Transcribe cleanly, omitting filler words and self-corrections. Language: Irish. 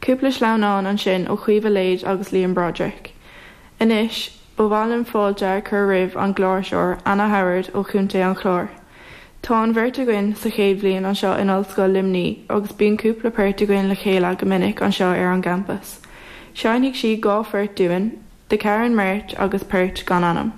Cúpla sleamhnán ansin ó Chaoimhe Lade agus Liam Broderick. Anois, ba mhaith liom fáilte a chur roimh an gcláirseoir Anna Howard ó Chontae an Chláir. Tá an bheirt againn sa chéad bhliain anseo in Ollscoil Luimnigh agus bíonn cúpla port againn le chéile go minic anseo ar an gcampas. Seinnfidh sí 2 phort dúinn, The Carron March agus port gan ainm.